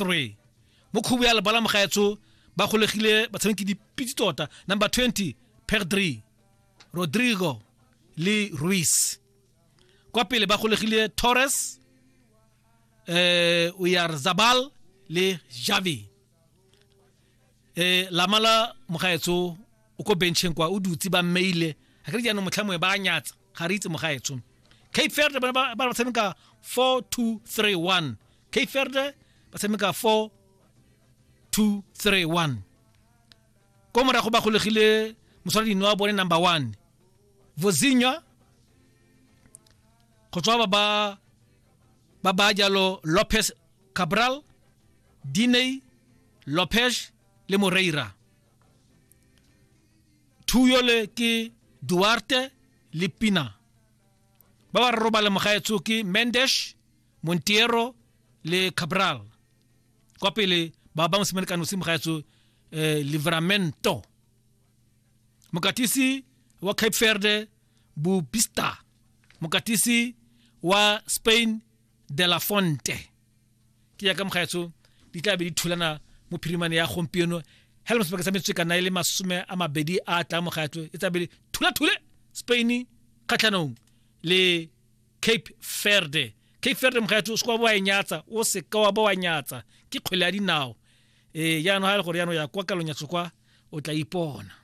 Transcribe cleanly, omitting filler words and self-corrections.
3. Mo khubu ya lebala mogaetsho ba golegile batshameki dipitse tota number 20 Pedri, Rodrigo le Ruiz. Kwa pele ba golegile Torres, eh Oyarzabal le Javi. Eh lamala mogaetsho o ko bencheng kwa o dutse ba mmeile a kere jaanong motlha mongwe ba a nyatsa ga re itse mogaetsho cape verde ba ba ba tshameka 4 2 3 1 cape verde ba tshameka 4 2 3 1 ko morago ba golegile moswara dino wa bone number 1 vozinha go tswa ba ba ba ba jalo lopez cabral diney lopez le moreira Thuyole ke Duarte le Pina. Ba ba robale mogaetsho ke Mendes, Monteiro le Cabral. Kwa pele ba ba mosimane ka nosi mogaetsho eh, Livramento. Mokatisi wa Cape Verde Bubista. Mokatisi wa Spain De La Fonte. Ke ya ka mogaetsho di tla be di thulana mo phirimane ya gompieno hela mo sebaka sa metsotso e ka nna e le masome a mabedi a tlang mogaetsho e tla be thula-thule Spain kgatlhanong le Cape Verde. Cape Verde mogaetsho o se kwa wa e nyatsa, o se ka wa ba wa nyatsa ke kgwele ya dinao. Ee jaanong ga e le gore jaanong ya kwa kalonyatso kwa o tla ipona.